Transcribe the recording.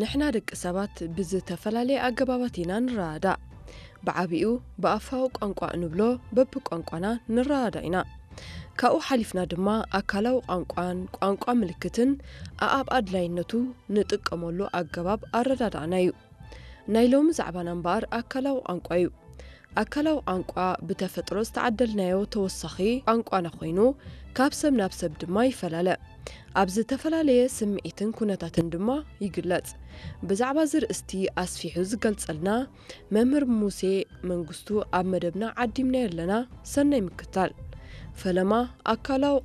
ንሕና ደቂ ሰባት ብዝተፈላለየ ኣገባባት ኢና ንረዳዳእ። ብዓቢኡ ብኣፋዊ ቋንቋ እንብሎ በብቋንቋና ንረዳዳእ ኢና። ካብኡ ሓሊፍና ድማ ኣካላዊ ቋንቋን ቋንቋ ምልክትን ኣኣብ ኣድላይነቱ ንጥቀመሉ ኣገባብ ኣረዳዳእና እዩ። ናይ ሎሚ ዛዕባና እምበኣር ኣካላዊ ቋንቋ እዩ። ኣካላዊ ቋንቋ ብተፈጥሮ ዝተዓደልናዮ ተወሳኺ ቋንቋና ኮይኑ፣ ካብ ሰብ ናብ ሰብ ድማ ይፈላለ። ኣብ ዝተፈላለየ ስምዒትን ኩነታትን ድማ ይግለጽ። ብዛዕባ እዚ ርእስቲ ኣስፊሑ ዝገልጸልና መምህር ሙሴ መንግስቱ ኣብ መደብና ዓዲምናዮ ኣለና። ሰናይ ምክታል። ፈለማ ኣካላዊ